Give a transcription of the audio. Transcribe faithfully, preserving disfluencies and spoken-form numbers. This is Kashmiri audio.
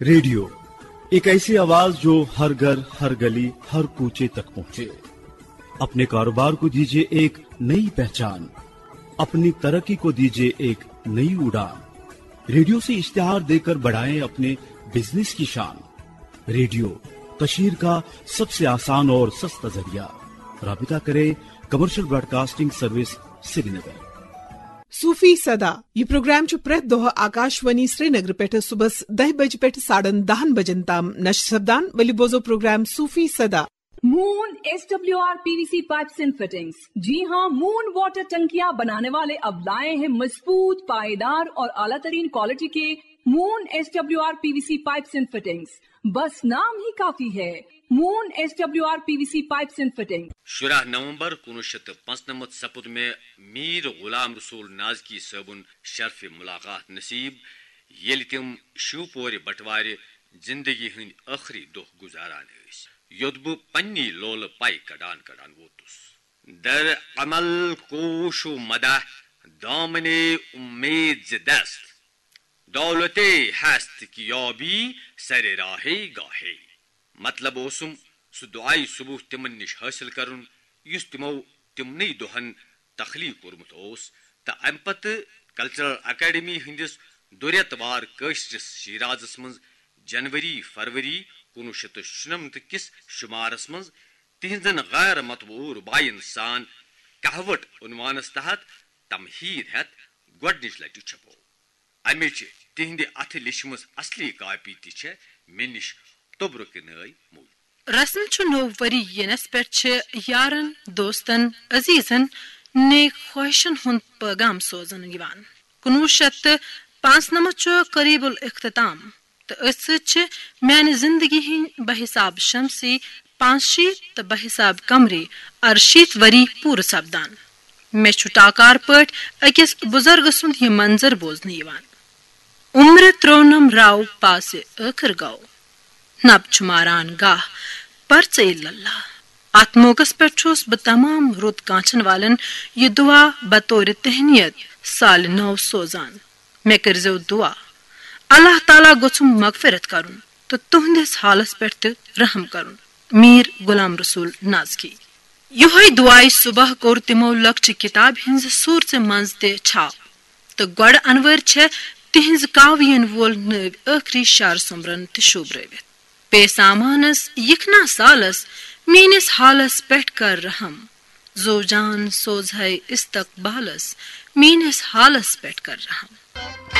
रेडियो, एक ऐसी आवाज जो हर घर, हर गली, हर कूचे तक पहुंचे। अपने कारोबार को दीजिए एक नई पहचान, अपनी तरक्की को दीजिए एक नई उड़ान। रेडियो से इश्तिहार देकर बढ़ाएं अपने बिजनेस की शान। रेडियो, कशीर का सबसे आसान और सस्ता जरिया। राबिता करें कमर्शियल ब्रॉडकास्टिंग सर्विस, श्रीनगर। صوفی صدا۔ یہ پروگرام چھُ پرٛٮ۪تھ دۄہ آکاشوانی سرینگر پٮ۪ٹھ صبحس دَہہِ بجہِ پٮ۪ٹھ ساڑن دَہن بجن تام نشر سپدان۔ ؤلِو بوزو پروگرام صوفی صدا۔ Moon S W R P V C pipes and fittings। जी हाँ, मून वाटर टंकियां बनाने वाले अब लाए हैं मजबूत, पायेदार और आला तरीन क्वालिटी के moon S W R P V C pipes and fittings। बस नाम ही काफी है, moon S W R P V C pipes and fittings। شُراہ نومبر کُنوُہ شیٚتھ تہٕ پانٛژنَمتھ سپُد مےٚ میٖر غلام رسول نازکی صٲبُن شرفِ ملاقات نصیب، ییٚلہِ تِم شِوپورِ بٹوارِ زندگی ہٕنٛدۍ ٲخری دۄہ گُزاران ٲسۍ، یوٚت بہٕ پننی لولہٕ پے کڑان کڑان ووتُس۔ در عمل کوش و مدح دامن امید ز دست، دولت ہست کہ یابی سر راہ گاہے۔ مطلب اوسُم سُہ دُعایہِ صبح تِمن نِش حٲصِل کرُن، یُس تِمو تِمنٕے دۄہن تخلیق کوٚرمُت اوس، تہٕ امہِ پتہٕ کلچرل اکیڈمی ہٕنٛدِس دُرٮ۪تہٕ وار کٲشرِس شیرازس منٛز جنوری فروری کُنوُہ شیٚتھ تہٕ شُنَمتھ کِس شُمارس منٛز تِہنٛزن غیر مطبوع رُباعین سان کہوٹ عنوانس تحت تمہیٖد ہٮ۪تھ گۄڈنِچ لٹہِ چھپوو۔ امِچ تِہنٛدِ اتھٕ لیچھمٕژ اصلی کاپی تہِ چھےٚ مےٚ نِش توٚبرُکہِ نٲے موٗجوٗد۔ رسم چھُ نوٚو ؤری یِنس پٮ۪ٹھ چھِ یارن، دوستن، عزیزن نیک خواہشن ہُنٛد پٲغام سوزنہٕ یِوان۔ کُنوُہ شیٚتھ تہٕ پانٛژنَمتھ چھُ قریب الاختتام تہٕ أتھۍ سۭتۍ چھِ میانہِ زندگی ہٕنٛدۍ بحساب شمسی پانٛژشیٖتھ تہٕ بحساب قمری ارشیٖتھ ؤری پوٗرٕ سپدان۔ مےٚ چھُ ٹاکار پٲٹھۍ أکِس بُزرگہٕ سُنٛد یہِ منظر بوزنہٕ یِوان۔ عمرِ ترٛونم راو پاسہِ ٲخٕر گوٚو۔ نب چھُ ماران گاہ پرژے للہ۔ اتھ موقعس پٮ۪ٹھ چھُس بہٕ تمام رُت کانچھن والٮ۪ن یہِ دُعا بطورِ تہنیت سالہِ نو سوزان۔ مےٚ کٔرۍزیو دُعا۔ اللہ تعالیٰ گوٚژھُم مغفرت کرُن تہٕ تُہنٛدِس حالس پٮ۪ٹھ تہِ رحم کرُن۔ میٖر غلام رسول نازکی۔ یِہوٚے دُعایہِ صبح کوٚر تِمو لۄکچہِ کِتابہِ ہٕنٛزِ صوٗرژِ منٛز تہِ چھاپ۔ تہٕ گۄڈٕ انوٲرۍ چھےٚ تِہنٛزِ کاوین وول نٲوۍ ٲخری شعر سوٚمبرن تہٕ شوٗبرٲوِتھ۔ پے سامانس یِکھنا سالس میٲنِس حالس پٮ۪ٹھ کر رحم۔ زو جان سوزہے استقبالس میٲنِس حالس پٮ۪ٹھ کر رحم۔